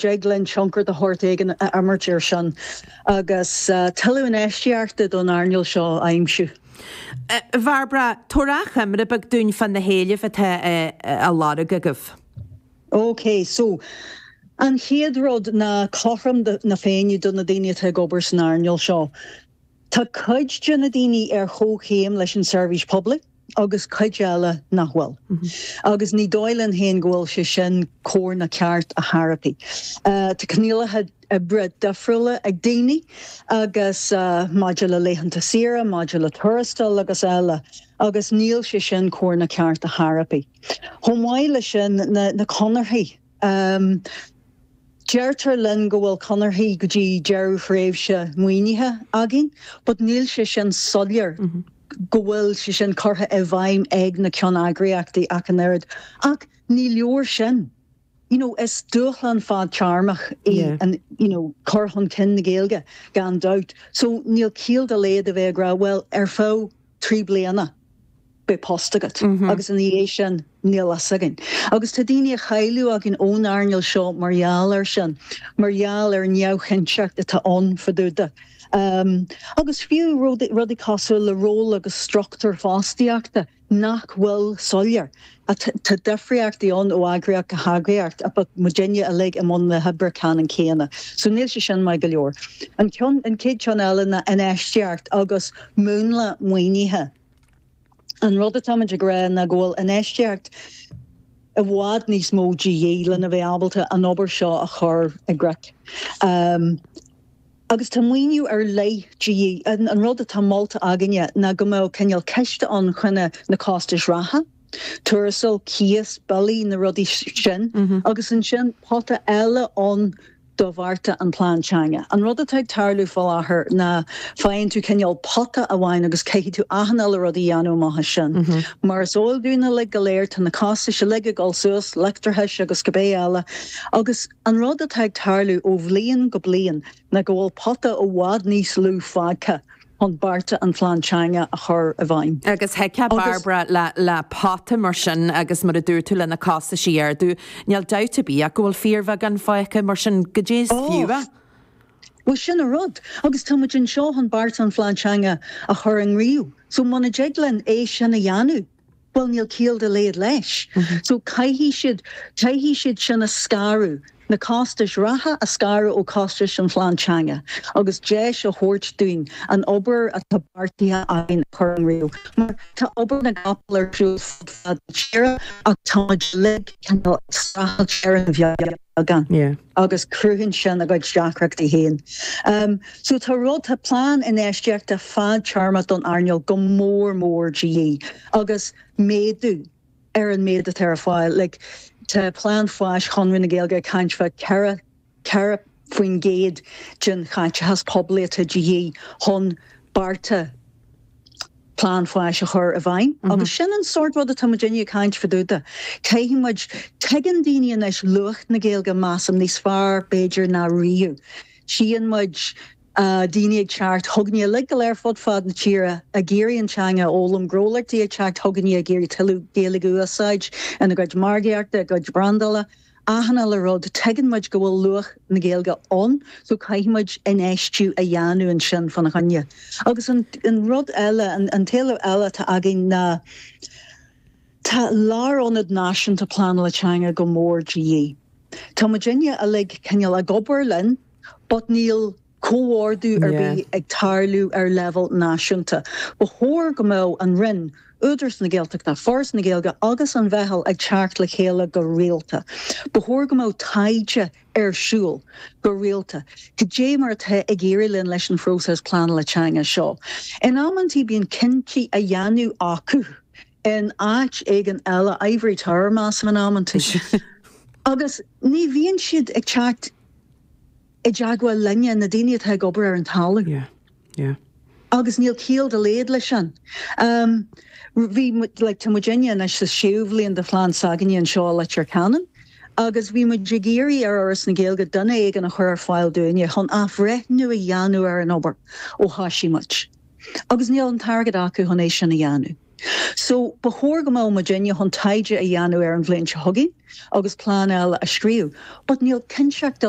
dtig linn tionchar de shórt éigin a imirt air sin agus tuilleadh infheistíochta don earnáil seo a aimsiú. A Bhairbre, tabhair achoimre beag dúinn fá na héilimh atá á lorg agaibh. Ok, so, an chéad rud ná cothrom na Féinne do na daoine atá ag obair san earnáil seo. Tá cuid de na daoine ar chomhchéim leis an seirbhís poiblí agus cuid eile nach bhfuil. Agus ní dóigh linn féin go bhfuil sé sin cóir ná ceart ar chor ar bith. Tá coinníollacha oibre difriúla ag daoine agus maidir le laethanta saoire, maidir le tuarastal agus eile agus níl sé sin cóir ná ceart ar chor ar bith. Chomh maith leis sin, na conarthaí. Deirtear linn go bhfuil conarthaí go dtí deireadh thréimhse maoinithe againn, but níl sé sin soiléir go bhfuil sé sin curtha i bhfeidhm ag na ceanneagraíochtaí ach an oiread. Ach ní leor sin. You know, is dúshlán fadtéarmach í an, you know, cur chun cinn na Gaeilge, gan dabht. So níl ciall dá laghad a bheith ag rá, bhuel, ar feadh 3 bliana, beidh post agat agus ina dhiaidh sin níl fhios againn. Agus tá daoine á chailleadh againn ón earnáil seo mar gheall air sin, mar gheall ar an neamhchinnteacht atá ann fá dtaobh de. Agus fiú rudaí cosúil le ról agus struchtúr fostaíochta nach bhfuil soiléir. Tá difríochtaí ann ó eagraíocht go heagraíocht but muidinne uilig i mbun na hoibre ceannann céanna. So níl sé sin maith go leor. An ceann, an chéad cheann eile ná infheistíocht agus múnla maoinithe. An rud atáimid ag rá ná go bhfuil infheistíocht i bhfad níos mó de dhíth lena bheith ábalta an obair seo a chur i gcrích. Agus tá maoiniú ar leith de dhíth. An rud atá molta againne ná go mbeadh cineál ciste ann chun na costais reatha, tuarastal, cíos, billí, na rudaí sin, agus ansin pota eile ann do bhearta an Plean Teanga. An rud atá ag tarlú faoi láthair ná faigheann tú cineál pota amháin agus caithfidh tú achan uile rud a dhéanamh amach as sin. Mar is eol dúinn uilig go léir, tá na costais uilig ag dul suas, leictreachais agus cibé eile, agus an rud atá ag tarlú ó bhliain go bliain ná go bhfuil pota i bhfad níos lú fágtha chun bearta an Phlean Teanga a chur i bhfeidhm. Agus thuigfeá, Bairbre, le pota mar sin agus mar a dúirt tú le na costais a ardú, níl dabht ar bith ach go bhfuil fíorbheagán fágtha mar sin, goidé is fiú é? Bhuel, sin an rud. Agus tá muid anseo chun bearta an Phlean Teanga a chur i ngníomh. So muna dtig linn é sin a dhéanamh, bhuel níl ciall dá laghad leis. So caithfidh siad, caithfidh siad sin a scaradh, na costais reatha a scaradh ó chostais an phlean teanga agus deis a thabhairt dúinn an obair atá beartaithe againn a chur i ngníomh. Mar tá obair na gcapall ar siúl fud fad na tíre ach tá muid uilig cineál ag streachailt ar an bheagán agus cruthaíonn sin a gcuid deacrachtaí féin. So tá rud, tá plean infheistíochta fadtéarmach don earnáil go mór mór de dhíth agus méadú ar an méid atá ar fáil. Like, tá plean fáis Chonradh na Gaeilge ag caint fá 4, 4% den chaiteachas poiblí atá de dhíth chun bearta plean fáis a chur i bhfeidhm. Agus sin an sórt rud atá muidinne ag caint fá dtaobh de. Caithfidh muid, tuigeann daoine anois luach na Gaeilge, measaim, níos fearr b'fhéidir ná riamh. Tchíonn muid daoine ag teacht chugainne uilig go léir fud fad na tíre ag iarraidh an teanga a fhoghlaim, gnólachtaí ag teacht chugainne ag iarraidh tuilleadh Gaeilge a úsáid ina gcuid margaíochta, a gcuid brandála, achan uile rud. Tuigeann muid go bhfuil luach na Gaeilge ann so caithfidh muid infheistiú a dhéanamh ansin fána choinne. Agus an rud eile, an t-éileamh eile atá againn ná tá lárionad náisiúnta pleanála teanga go mór de dhíth. Tá muidinne uilig cineál ag obair linn but níl comhordú ar bith ag tarlú ar leibhéal náisiúnta. Ba chóir go mbeadh an Roinn, Údarás na Gaeltachta, Foras na Gaeilge agus an Mheitheal ag teacht le chéile go rialta. Ba chóir go mbeadh taighde ar siúl go rialta. Cad é mar atá ag éirí linn leis an phróiseas pleanála teanga seo? In amantaí bíonn cinntí á dhéanamh acu in áit éigin eile, ivory tower measaim in amantaí, agus ní bhíonn siad ag teacht i dteagmháil linne, na daoine atá ag obair ar an talamh. Yeah, yeah. Agus níl ciall dá laghad leis sin. Bhí, like, tá muidinne anois sa séú bhliain de phlean s'againne anseo i Leitir Ceanainn agus bhí muid ag iarraidh ar Fhoras na Gaeilge duine éigin a chur ar fáil dúinne chun athbhreithniú a dhéanamh ar an obair ó thoisigh muid. Agus níl an t-airgead acu chun é sin a dhéanamh. So, ba chóir go mbeadh muidinne chun taighde a dhéanamh ar an bhliain seo chugainn agus plean eile a scríobh. But níl cinnteacht dá.